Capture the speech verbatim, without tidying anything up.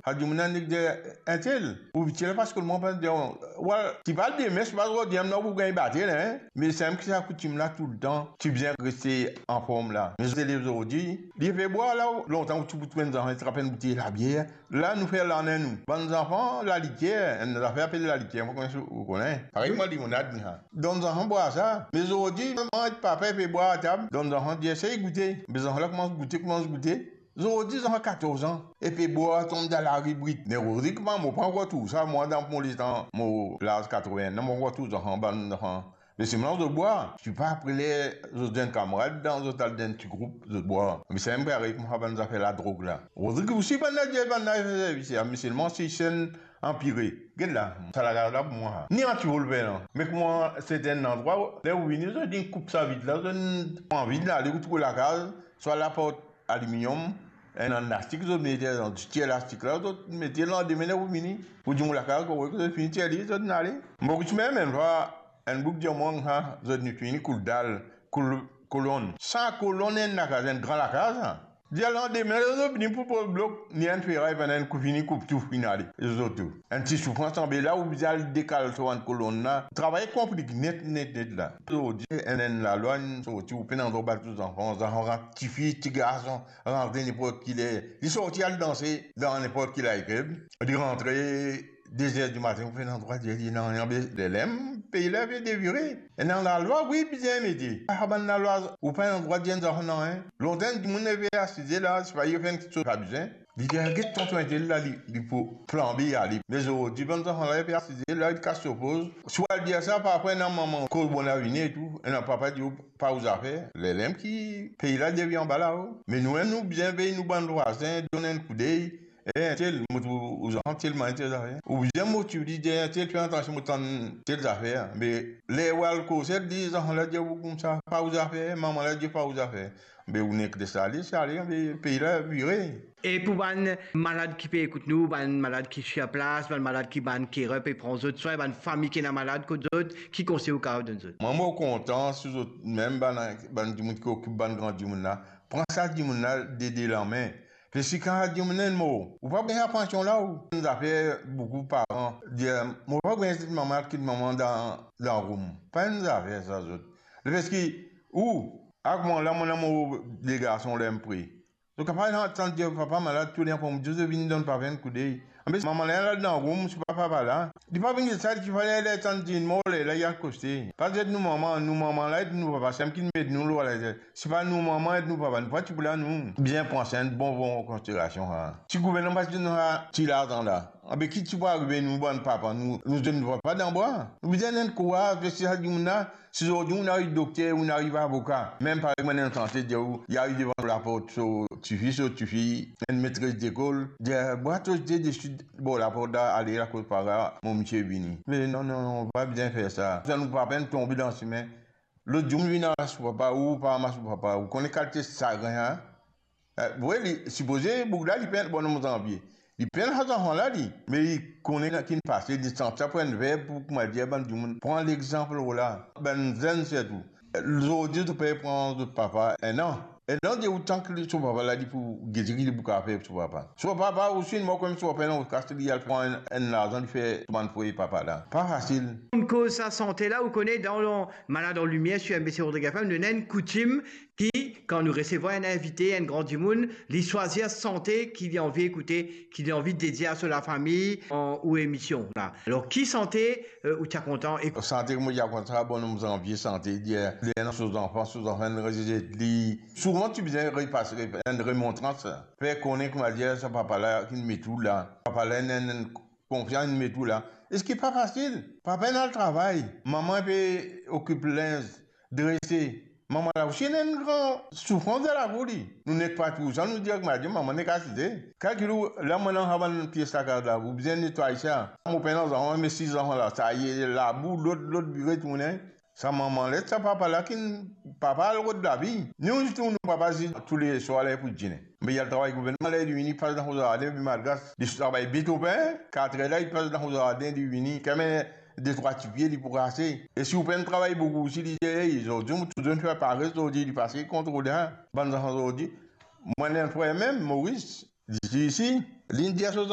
Sa dimoun la nek dir, entel, ou ti la pas kolman, pa dir, wel, ti pa demin, ti pa zordi, non, pou gagn batel, hein. Me samem ki sa koutim la toultan, ti bizin reste anform la. Me zot lev zordi, li pe bwar la, lontan ou ti pou trouv enn zanfan, li trap enn boutey labier, la nou fer lane nou. Bann zanfan, laliker, enn zafer apel laliker, mo pa kone si ou kone. Parey kouma limonad, sa. Donn zanfan bwar sa. Me zordi, manman ek papa pe bwar atab, donn zanfan dir, sey goute. Me zanfan la koumans goute, koumans goute. Zordi zanfan katorz an, e pe bwar, tom dan lari brit. Me Rodrig, mwa, mo pa ankor trouv sa, mwa, dan mo letan, mo laz katreven an, mo pa ankor trouv zanfan, bann zanfan. Me selman zot bwar, ti pa apre ler zot enn kamarad dan, zot al dan enn ti group, zot bwar. Me samem parey kouma bann zafer ladrog la. Rodrig osi bann la dir bann la fer servis, me selman si enn anpire. Get la, sa lakaz la pou mwa. Ni an ti volver la. Me kouma serten landrwa, ler ou vini, zot inn koup sa vit la, zot inn pran vit la, ale ou trouv lakaz, swa laport aliminyom, enn lastik zot mete, zot tir lastik la, zot mete, landime ler ou vini, pou dir mo lakaz korek, zot fini tir li, zot inn ale. Mo koutim mem enn fwa, enn boug dir mwa, sa, zot inn fini koul dal, koul kolonn. Sa kolonn enn lakaz, enn gran lakaz, sa. Dir landime, zot vini pou poz blok, ni enn feray, pandan enn kou fini koup tou, fini ale, zot tou. Enn ti soufrans anba la, ou bizin al dekal so bann kolonn la. Travay konplik net, net, net la. Zordi, enn, enn lalwa inn sorti, ou pena drwa bat tou zanfan, zanfan rant, tifi, tigarson, rantre ninport ki ler. Li sorti al danse dan ninport ki nightclub. Li rantre de zer dimatin, ou pena drwa dir li nanye, be, lerla mem pei la pe devire. Ena lalwa, wi, bizin mete. Ah, bann lalwa, ou pena drwa dir enn zanfan nanye. Lontan dimoun pe asize la, sipa li fer enn kiksoz pa bizin. Li dir, get tonton entel la, li, li pou flanbe ale. Me zordi, bann zanfan la, li pe asize la, li kas so poz. Si ou al dir sa, parfwa ena manman kot bon la vini e tou, ena papa dir ou pa ou zafer. Lerla mem ki pei la devir anba lao. Me nou mem, nou bizin vey nou bann vwazin, donn enn koudey. Eh, entel, mo trouv ou zanfan telman entel zafer. Ou bizin motiv li, dir, entel, fer atansion, mo tann tel zafer. Me ler ou al koze li, zanfan la dir ou koumsa, pa ou zafer, manman la dir pa ou zafer. Be ou nek les ale, si ale, be pei la vire. E pou bann malad ki pe ekout nou, bann malad ki sir plas, bann malad ki bann carer pe pran zot swin, bann fami ki ena malad kot zot, ki konsey ou kapav donn zot? Mwa, mo kontan si zot mem bann, bann dimoun ki okip bann gran dimoun la, pran sa dimoun la de de lame. Paski kan sa dimoun la inn mor, ou pa gagn sa pansion la, ou. Enn zafer boukou paran dir, mo pa gagn kit manman, kit manman dan, dan roum. Pa enn zafer sa zot. Paski ou, ak mwa la, mo ena mo de garson ler mo pre. Zot kapav tann dir papa malad, tou le tan pou dir zot vinn donn papa enn koudey. Anbe manman la, la dan roum, si pa papa la. Li pa vinn get sa, li ti fale ler tann dir mor, lerla li al koste. Pa zet nou manman, nou manman la ek nou papa, samem ki met nou lor later. Si pa nou manman ek nou papa, nou pa ti pou la nou. Bizin pran sa enn bon, bon konsiderasion, ha. Si gouvernman pa ti donn sa ti larzan la, anbe ki ti pou arive nou bann papa, nou, nou zet nou papa dan bwa? Nou bizin enn kouraj, paski sa dimoun la, si zordi ou ariv dokter, ou ariv avoka, mem parey bann sante dir ou, li ariv devan laport so tifi, so tifi, enn metres lekol, dir, bwa to zete desi bor laport la, ale lakoz papa, mo misie vini. Me non, non, non, pa bizin fer sa. Sa nou pa pena tonbe dan sime. Lot dimoun vinn aras ou papa, ou pa aras ou papa, ou kone kalite sagrin, ha? Eh, wi, li sipoze boug la, li pena, bonom Zanvie. Li pena sa zanfan la, li. Me li kone ki finn pase, li santi sa pou enn verb pou, kouma dir, bann dimoun pran lexanp lor la. Bann zenn sirtou. Zordi, zot pe pran zot papa enn an. Enn an, dir ou tank li, so papa la, li pou gete ki li pou kapav fer so papa. So papa osi, mo kouma so papa, non, kas li al pran enn, enn larzan, li fer so bann fwey papa la. Pa fasil. Kouma koz sa sante la, ou kone, dan Malad an Limier sir MBC Rodrig FM, nou ena enn koutim ki, kan nou resevwar enn invite, enn gran dimoun, li swazir sante ki li anvi ekoute, ki li anvi dedie a so lafami, an, ou emision la. Alor, ki sante, euh, ou ti a kontan ek- Sante ki mo ti a kontan, bonom Zanvie sante, li, li ena so zanfan, so zanfan inn rezet li. Souvan ti bizin repas, re-, enn remontrans, fer kone, kouma dir, sa papa la ki met ou la. Papa la ena enn, enn konfians, inn met ou la. Eski pa fasil? Papa inn al travay, manman pe okip linz, drese. Manman la osi ena enn gran soufrans dan lavi li. Nou nek pa trouv sa, nou dir, kouma dir, manman nek asize. Kalkil ou, la mo ena sa bann pies lakaz la, ou bizin netway sa. Mo pena zanfan, me sis zanfan la, sa ye labou, lot, lot bire tounen. Sa manman la, sa papa la, ki papa al rod lavi. Nou zis nou papa zis touleswar ler pou dine. Me li al travay gouvernman, ler li vini, li pas dan so zarden, li malgras, li travay bet lopin, katrer la, li pas dan so zarden, li vini, kanmem de trwa tipie, li pou rase. E si ou pena travay boukou osi, li dir, ey, zordi, mo touzour fer pares, zordi, li pase kontrol la. Bann zanfan zordi, mo ena enn frer mem, Moris, li ti isi, li dir so